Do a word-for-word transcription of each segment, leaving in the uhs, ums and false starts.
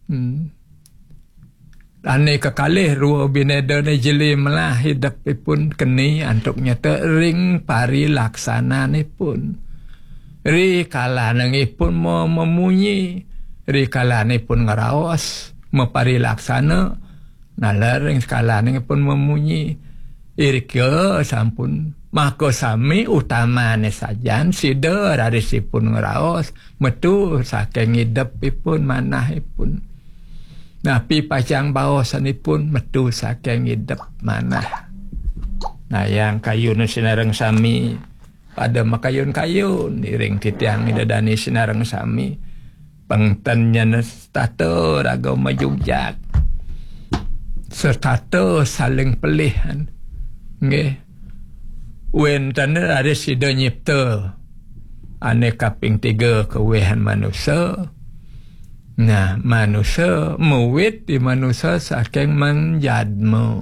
Hmm. Ane kekalih rua bineda ne jeli melah idep ipun keni antuk nyata ring parilaksananipun. Ri kalanipun me-, memunyi, ri kalanipun ngeraos, meparilaksana, naler ring kalanipun memunyi. Irika sampun maka sami utamane sajan sida raris ipun ngraos metu saking idepipun manahipun. Napi pacang baosanipun metu saking idep manah. Nayang kayun sinareng sami pada makayun-kayun iring titiang ida dani sinareng sami. Pengten nyen setata raga majujak. Setata saling pelihan. Nggih. Wenten raris sida nyipta ane kaping tiga kewehan manusa. Nah, manusa muwit di manusa saking menjadma.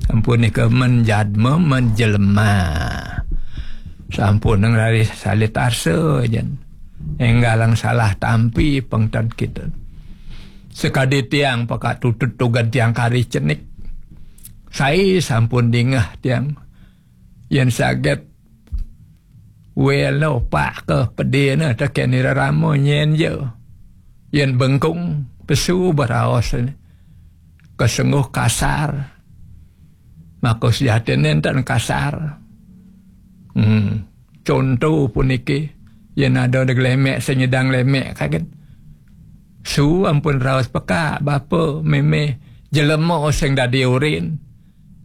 Sampun nika menjadma, menjelema. Sampun raris salit arsa jan. Enggalang salah tampi pengten kita. Sekadi tiang pekak tutut tugan tiang kari cenik. Sai sampun dingeh tiang. Yen saget wela opak ke pedina teken ira rama nyen je. Yen bengkung pesu beraos kesengguh kasar. Maka sejati nenten kasar. Hmm. Contoh puniki, yen ada de glemek sing nyidang lemek kaget. Su ampun raos pekak bapa meme jelema sing dadi urin,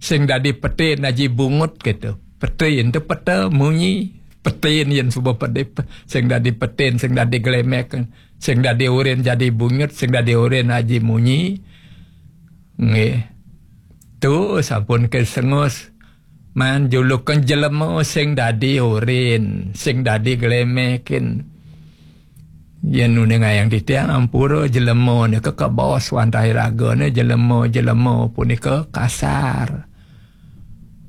sing dadi petin aji bungut gitu. Petin tu peta munyi, petin yen suba pedip, sing dadi petin, sing dadi glemek, sing dadi urin jadi bungut, sing dadi urin aji munyi. Nggih. Tu sampun kesengus man julukan jelema sing dadi urin, sing dadi glemekin. Yen nuningayang titiang ampura jelema nika kabaos wantah ragane jelema-jelema punika kasar.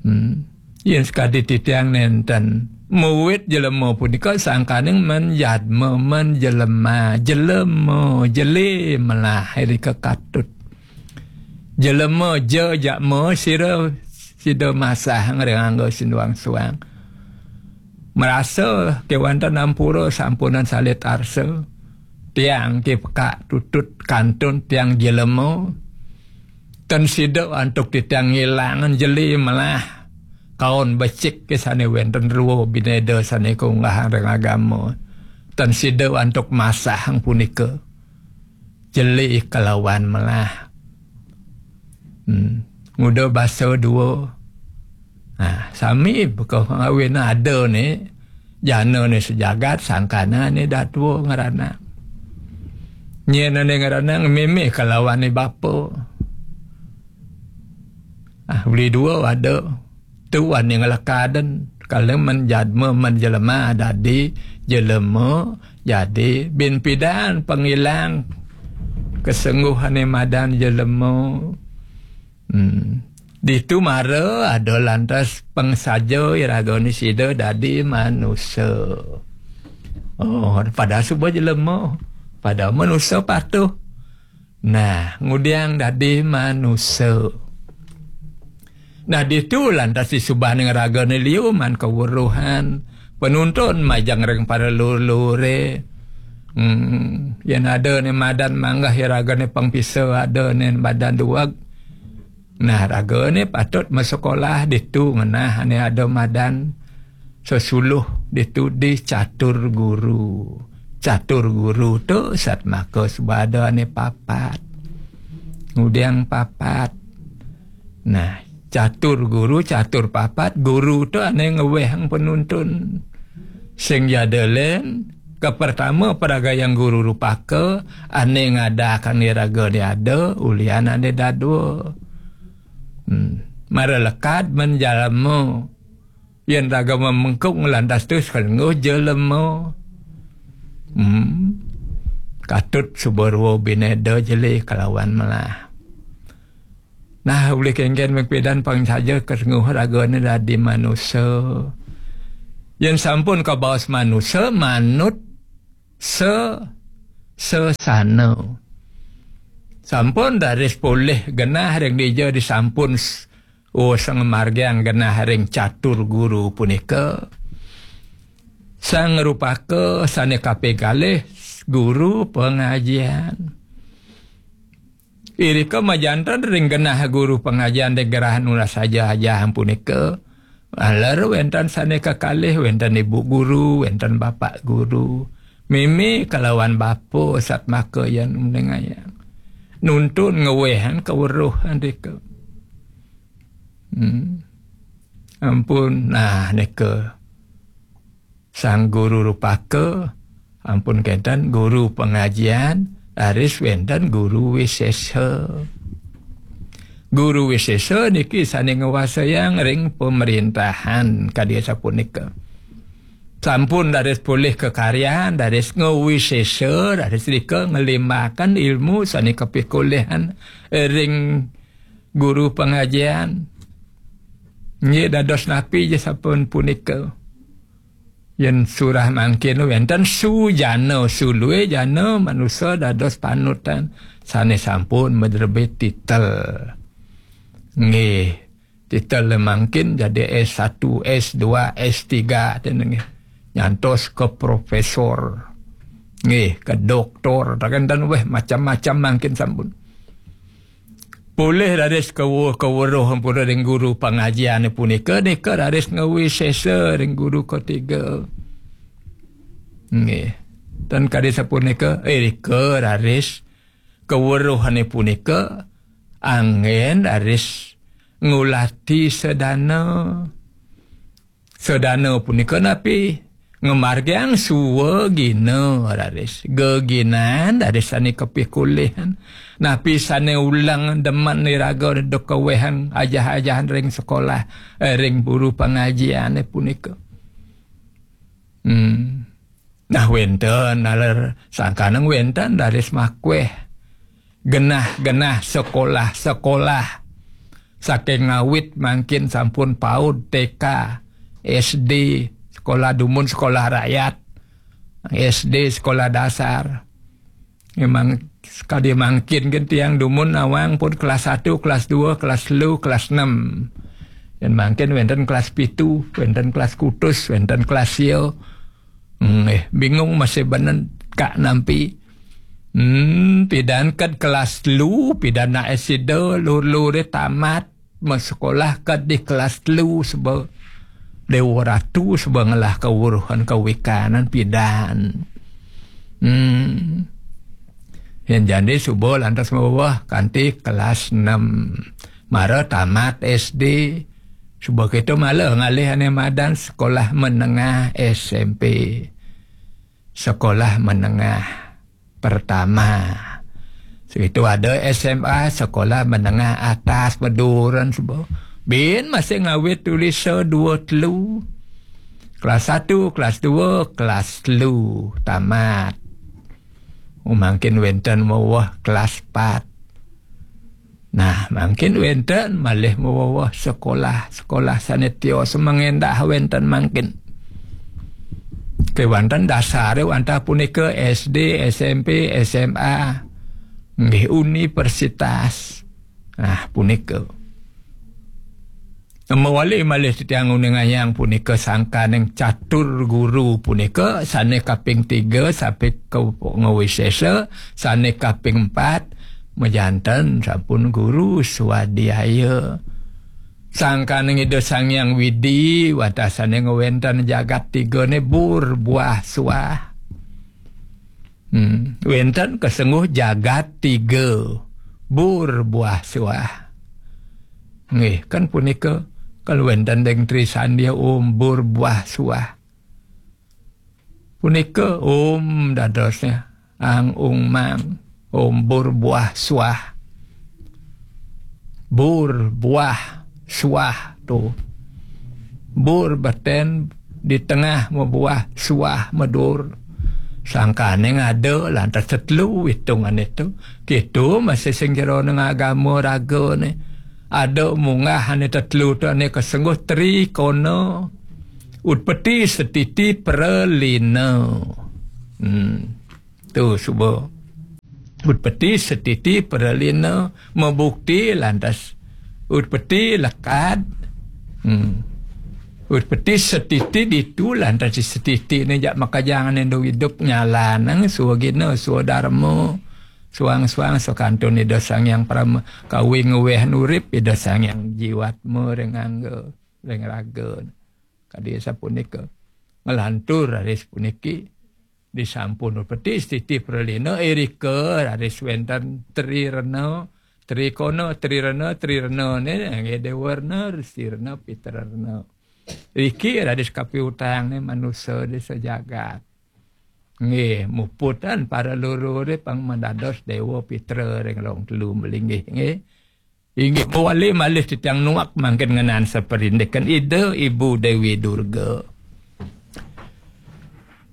Hmm. Yen sekadi titiang nenten muwit jelema punika sangkaning men jadma, men jelema, jelema, jeli melah irika katut. Jelema ja jakma sira sida masah ngrengangga sinduang suang. Merasa kewanten ampura sampunan salit arsa. Tiang ki pekak tutut kantun tiang jelema. Ten sida antuk titiang ngilangan jeli melah. Kaon becik ke sane wenten rua bineda sane kaunggahang ring agama. Ten sida antuk masahang punika. Jeli kelawan melah. Hmm. Nguda basa dua. Ha, sami beka ngawin ada ni. Jana ni sejagat, sangkana ni datua ngeranak. Nyena ni ngeranak mimih kelawan ni bapa. Ah, beli dua ada. Tu ane ngelekaden. Kalau men jadma, men jelema dadi jelema, jadi bin pidan pengilang kesengguhane madan jelema. Hmm. Ditu mara ada lantas pengsaja iraga ni sida dadi manusa. Oh, pada suba jelema, pada manusa patuh. Nah, ngudiang dadi manusa. Nah, ditu lantas disubahning ragane liu man kawuruhan penuntun majeng ring para lur-lure. Hmm, yen ada ne madan manggah ya ragane pengpisa, ada ne madan duweg. Nah, ragane patut masekolah ditu ngenah ane ada madan sesuluh ditu di catur guru. Catur guru tu satmaka sebadane papat. Ngudiang papat. Nah, catur guru, catur papat, guru tu ane ngewehang penuntun. Sing jada len, ke pertama peragayang guru rupaka, ane ngadakan iraga ni ada, ulian ane dadua. Hmm. Mara lekad men jalema. Yen raga memengkung lantas tu selengguh jelema. Hmm. Katut suba rua bineda jeli kelawan melah. Nah, ulih kengken mengpidan pang saja kesengguh ragane dadi manusa. Yen sampun kabaos manusa, manut se-, sesana. Sampun raris polih genah ring dija disampun s-, oh, sangamargiang genah ring catur guru punika. Sang rupaka sane kaping kalih guru pangajian. Irika majanten ring genah guru pangajian di gerah nunas aja-ajahan punika. Aler wenten sane kakalih, wenten ibu guru, wenten bapak guru. Mimi kalawan bapa satmaka yan meningayang. Nuntun ngewehang kaweruhan rika. Hmm. Ampun, nah, nika. Sang guru rupaka, ampun kenten guru pangajian, raris wenten guru wisesa. Guru wisesa niki sane ngwasayang ring pemerintahan kadi sapunika. Sampun raris polih kakaryan, raris ngawisesa, raris rika ngelimbangkan ilmu sane kapikulihan ring guru pangajian. Nggih, dados napi ja sampun punika. Yen surah mangkin wenten sujana, sulue jana manusa dados panutan sane sampun madrebit titel. Nggih, titel mangkin jadi S satu, S dua, S tiga, ten nggih. Nyantos ke profesor. Nggih, ke doktor, taken ten weh macam-macam mangkin sampun. Polih raris kawu-, kaweruh ampura ring guru pangajiane punika, nika raris ngawisesa ring guru ketiga. Nggih. Tan kadi sapunika, irika raris kaweruhane punika anggen raris ngulati sedana. Sedana punika napi? Ngamargiang swagina raris. Geginan raris sane kapikulihan. Napi sane uleng demen iraga duk kawehang ajah-ajahan ring sekolah, eh, ring guru pangajiane punika. Hmm. Nah, wenten, naler sangkaneng wenten raris makweh. Genah-genah sekolah-sekolah. Saking ngawit mangkin sampun paud, T K, S D, sekolah dumun, sekolah rakyat, S D, sekolah dasar. Memang sekadi mangkin kan tiang dumun nawang pun kelas satu, kelas dua, kelas telu, kelas enam. Dan mangkin wenten kelas pitu, wenten kelas kutus, wenten kelas sia. Hmm, eh, bingung masih benen kak nampi. Hmm, pidan kad kelas telu, pidan nak S D, lur-lure tamat, masekolah kad di kelas telu seba Dewa Ratu seba ngelah kawuruhan kawikanan pidan. Hmm. Yen jani suba lantas maweh kanti kelas enam. Mara tamat S D. Suba kita malah ngalih ane madan sekolah menengah S M P. Sekolah menengah pertama. Situ ada S M A, sekolah menengah atas, beduran suba. Bin masih ngawit tulis dua telu. Kelas satu, kelas dua, kelas telu. Tamat. Oh, mangkin wenten maweh kelas empat. Nah, mangkin wenten malih maweweh sekolah, sekolah sane tios mengendah wenten mangkin. Kewanten dasare wantah punika S D, S M P, S M A, nggih universitas. Nah, punika. Mawali malih titiang nguningayang punika sangkaning catur guru punika sane kaping tiga sampai ke ngawisesa, sane kaping empat majanten sampun guru swadhyaya. Sangkaning Ida Sang Hyang Widi, watasane ngwenten jagat tigane bur buah suah. Hmm, wenten kesengguh jagat tiga, bur buah suah. Nggih, kan punika, kalau wenten deng Tri Sandia Om bur buah suah. Punika Om dadosnya, Ang Ung Mang, Om bur buah suah. Bur buah suah tu. Bur beten di tengah mabuah suah madur. Sangkane ngada lantas tetelu hitungane tu. Kitu masih sing jero neng agama ragane. Ada munggah ane tetelu tu ane kesengguh Tri Kona. Utpeti Setiti Pralina. Hmm. Tu suba. Utpeti setiti pralina, mabukti lantas utpeti lekad. Hmm. Utpeti setiti ditu lantas setiti ne jak makajang ne do idup nyalanang suagina suadarma. Suang-suang sakantun Ida Sang Hyang Parama kawi ngeweh nurip Ida Sang Hyang jiwatma ring angga, ring raga. Kadi sapunika. Nglantur raris puniki. Disampun peti setiti pralina irika raris wenten trirena, trikona, trirena, trirena ne nggih dewarna, sirna, pitrarna. Riki raris kapiutang ne manusa di sejagat. Nggih, muputan para lurure pang mendados dewa pitra ring long telu melinggih nggih. Inggih mawali malih titiang nuak mangkin ngenan saprindikan Ida Ibu Dewi Durga.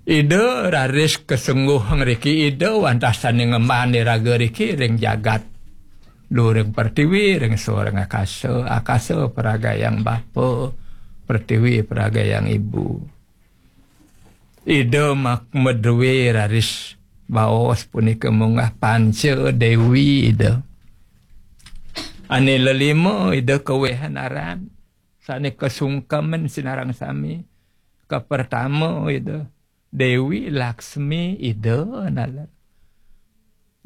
Ida raris kasengguh ngriki Ida wantah sane ngemban iraga riki ring jagat. Luring pertiwi, ring soring akasa, akasa paragayang bapa, pertiwi paragayang ibu. Ida mak madue raris baos punika munggah panca dewi Ida. Ane lelima Ida kawehan aran, sane kasungkeman sinareng sami. Kapertama Ida Dewi Laksmi Ida naler.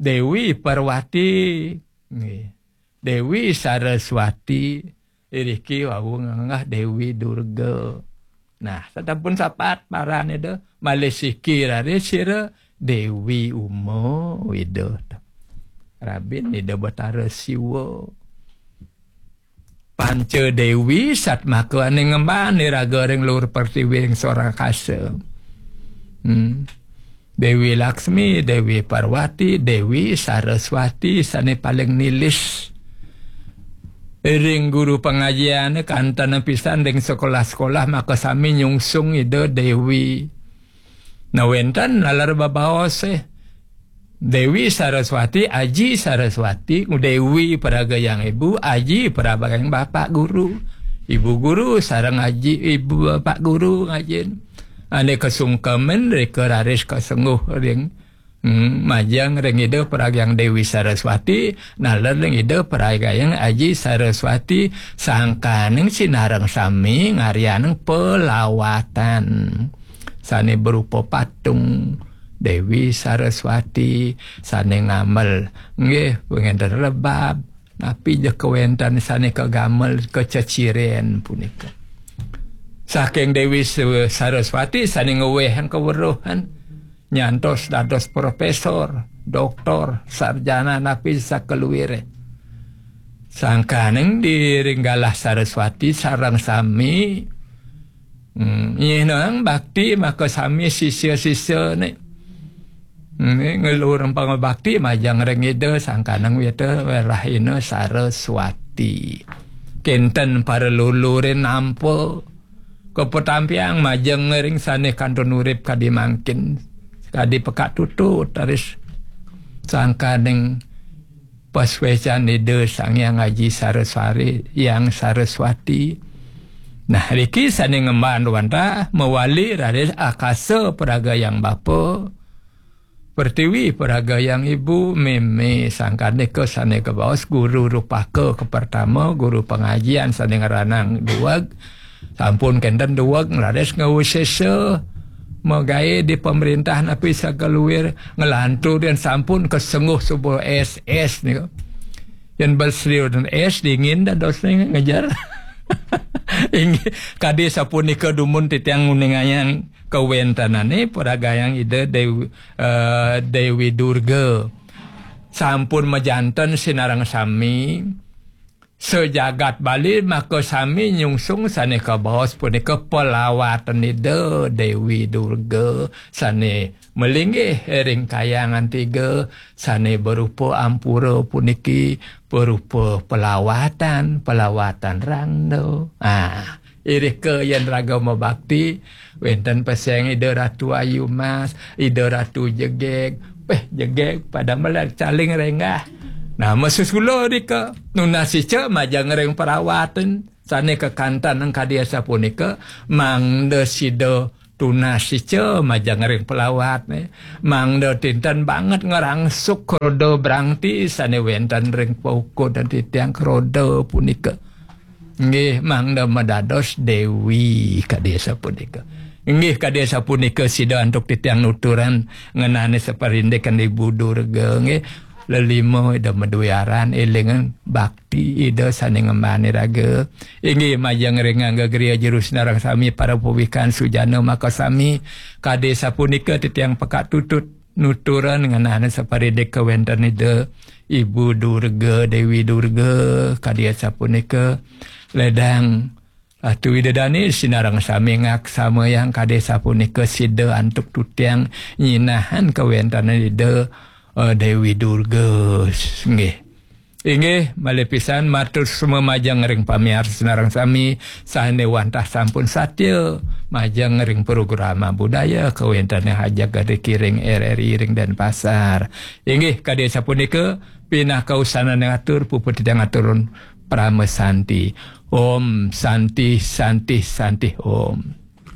Dewi Parwati, nggih. Dewi Saraswati, iriki wau nganggah Dewi Durga. Nah, sasampun sapat paran Ida, malih siki raris sira Dewi Uma Ida. Rabin Ida Batara Siwa. Panca Dewi satmaka ane ngemban iraga ring luhur pertiwi ring sorakasa. Hmm. Dewi Laksmi, Dewi Parwati, Dewi Saraswati sane paling nilis. Ring guru pangajian kantana pisan ring sekolah-sekolah maka sami nyungsung Ida Dewi. Nah, wenten naler babaos, eh. Dewi Saraswati, Aji Saraswati, Dewi Paragayang Ibu, Aji Paragayang Bapak Guru. Ibu Guru sareng Aji, Ibu Bapak Guru ngajin. Ane kasungkeman rika raris kasengguh ring, hmm, majeng ring Ida Paragayang Dewi Saraswati, naler ring Ida Paragayang Aji Saraswati, sangkaning sinareng sami ngaryanang pelawatan. Sane berupa patung Dewi Saraswati, sane ngamel, nggih, wenten rebab, napi ja kawenten sane kagamel kaceciren punika. Saking Dewi Su-, Saraswati sane ngewehang kaweruhan, nyantos dados profesor, doktor, sarjana, napi sakaluire. Sangkaning di ring galah Saraswati sareng sami, hmm, nyihnang bakti maka sami sisya-sisya ne. Hmm, ngelurang pangabakti majeng ring Ida sangkaning wita rahina Saraswati. Kenten para lulurin nampa kapatampiang majeng ring sane kantun urip kadi mangkin, kadi pekak tutut, taris sangkaning pasuecan Ida Sang Hyang Aji Saraswari, Hyang Saraswati. Nah, riki sane ngemban wantah mawali raris akasa paragayang bapa, pertiwi paragayang ibu, meme sangkanika sane kabaos guru rupaka kapertama, guru pangajian sane ngranang dueg, sampun kenten dueg, raris ngawsesa magae di pemerintah napi sakaluir, nglantur yen sampun kasengguh suba S S nika. Yen bel serius dan S dingin dadosne ngejar. Inggih, kadi sapunika dumun titiang nguningayang kawentenane paragayang Ida Dewi, eh, Dewi Durga. Sampun majanten sinareng sami, sajagat Bali maka sami nyungsung sane kabaos punika palawatan Ida Dewi Durga sane malinggih ring kayangan tiga, sane berupa ampura puniki, berupa palawatan, palawatan rangda. Ah, irika yen raga mabakti, wenten peseng Ida Ratu Ayu Mas, Ida Ratu Jegeg, peh Jegeg pada melar caling renggah. Nah, masusula rika, nunas ica majeng ring palawatan, sane kakantenang kadi asapunika, mangda sida tunas ica majeng ring pelawat, eh. Mangda tinten banget ngrangsuk roda brangti sane wenten ring paukud titiang roda punika. Nggih, mangda madados dewi kadi sapunika. Nggih, kadi sapunika sida antuk titiang nuturan ngenane saparindikan Ibu Durga, nggih. Lelima Ida madue aran, elingan bakti Ida sane ngemban iraga. Inggih, majeng ring angga griya jero sinareng sami para pawikan sujana makasami. Kadi sapunika titiang pekak tutut nuturan ngenane saparindik kawenten Ida Ibu Durga, Dewi Durga, kadi sapunika. Ledang Ratu Ida Dane sinareng sami ngaksamayang kadi sapunika sida antuk titiang nyinahan kawenten Ida, eh, Dewi Durga. Nggih. Inggih, malih pisan matur suksma majeng ring pamiarsa sinareng sami sane wantah sampun satia majeng ring program budaya kawentene hajak gade kiring R R I ring Denpasar. Inggih, kadi sapunika pinaka usanane ngatur puput titiang aturun Parama Santi. Om Santi, Santi, Santi, Om.